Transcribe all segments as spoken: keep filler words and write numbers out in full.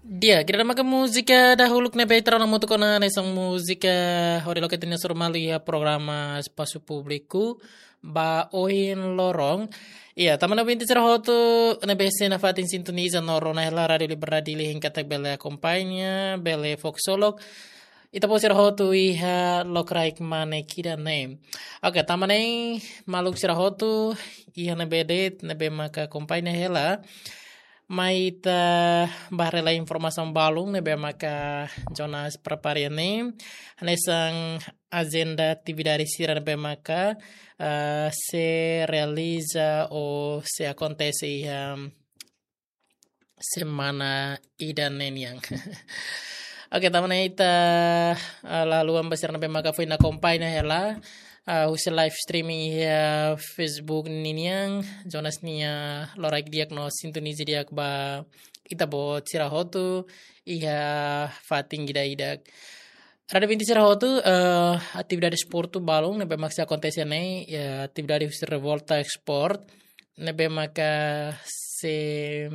Di'ak, ida-ne'e maka múzika dahuluk ne'ebé ita rona hamutuk ona hanesan múzika hodi loke ita-nia hasoru malu iha programa Espasu Públiku ba ohin loron. Iya, tanba ouvinte sira hotu ne'ebé sei nafatin sintoniza no rona hela Rádiu Liberdade Dili, hein katak bele akompaña, bele fó ksolok ita-boot sira hotu iha lokraik mane ida-ne'e. Oke, tanba ne'e maluk sira hotu iha ne'ebé de'it ne'ebé maka akompaña hela, mai ita bá haree lai informasaun balun ne'ebé maka Jonas prepara iha ne'e, hanesan ajenda atividade sira ne'ebé maka, ah, sei realiza ou sei akontese iha semana ida-ne'e nian. Oke, tanba ne'e ita, ah, la haluha ba sira ne'ebé maka foin akompaña hela, ah, husi live streaming iha Facebook ninian, Jonas nia lokraik di'ak no sintoniza di'ak ba ita-boot sira hotu iha fatin ida-idak. Rádiu ouvinte sira hotu, eh, atividade desportu balun ne'ebé maka sei akontese ne'e, ya, atividade husi Revolta Sport ne'ebé maka sei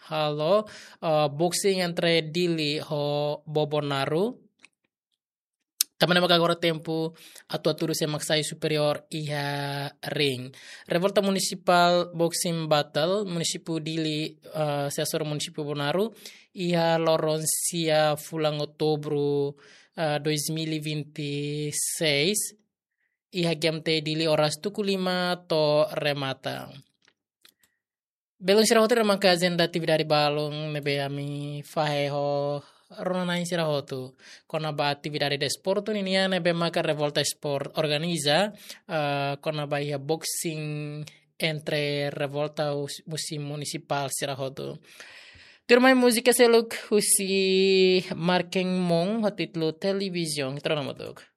halo, eh, boxing entre Dili ho Bobonaro. Tanba ne'e maka agora tempu atu-atu duni sé mak sai superiór iha ring. Revolta Municipal Boxing Battle, munisípiu Dili, eh, sei hasoru munisípiu Bobonaro, iha loron sia fulan Outubru, eh, dois mil e vinte e seis, iha G M T Dili oras tuku lima to'o remata. Belun sira hotu, ida-ne'e maka ajenda atividade balun ne'ebé ami fahe ho rona-na'in sira hotu kona-ba atividade desportu ninian ne'ebé maka Revolta Sport organiza, eh, kona-ba iha boxing entre Revolta hus-, husi munisipál sira hotu. Tuirmai múzika seluk husi Marken Mong ho títulu Televizion, ita rona hamutuk.